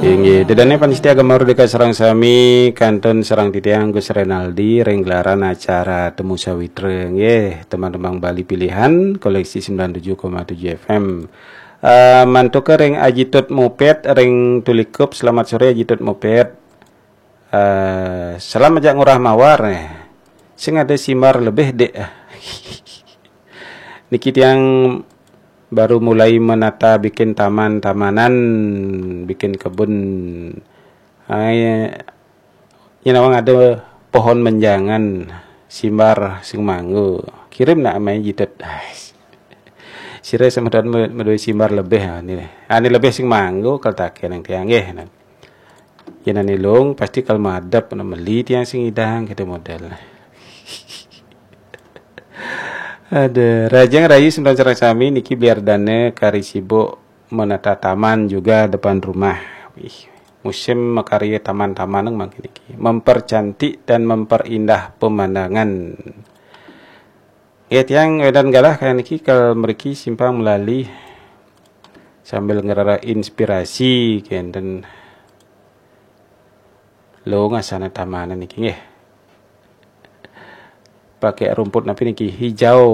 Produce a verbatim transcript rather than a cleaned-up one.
Inggih, ida dané pamiarsa Gema Merdeka sareng sami, kantun sareng titiang Gus Renaldi ring gelaran acara Temu Sawitra. Inggih, tembang-tembang Bali pilihan koleksi sembilan tujuh koma tujuh F M. Eh, mantuka ring Aji Tut Moped ring Tulikup. Selamat sore Aji Tut Moped. Eh, salam ajak Ngurah Mawar, eh. Sing ada simbar lebih, Dik. Niki tiang baru mulai menata bikin taman-tamanan, bikin kebun. Ai, nyén nawang ada pohon menjangan, simbar sing manggo. Kirim nak amai Aji Tut. Ais. Sira semeton me- madué simbar lebih, ah, ni. Ah, ni lebih sing manggo kal také nang tiang nggih. Nah. Yén ané luung pasti kal madep, nah, meli tiang sing ngidang, gitu model. Ada Rajang Rayu semeton sareng sami niki biar dana kari sibuk menata taman juga depan rumah. Wih, musim makarya taman-taman mangkin niki. Mempercantik dan memperindah pemandangan. Ya, tiang wénten galah kaya niki kal mriki simpang melali sambil ngrereh inspirasi kénten. Luung asana tamanan niki nggih. Pakai rumput napi niki? Hijau.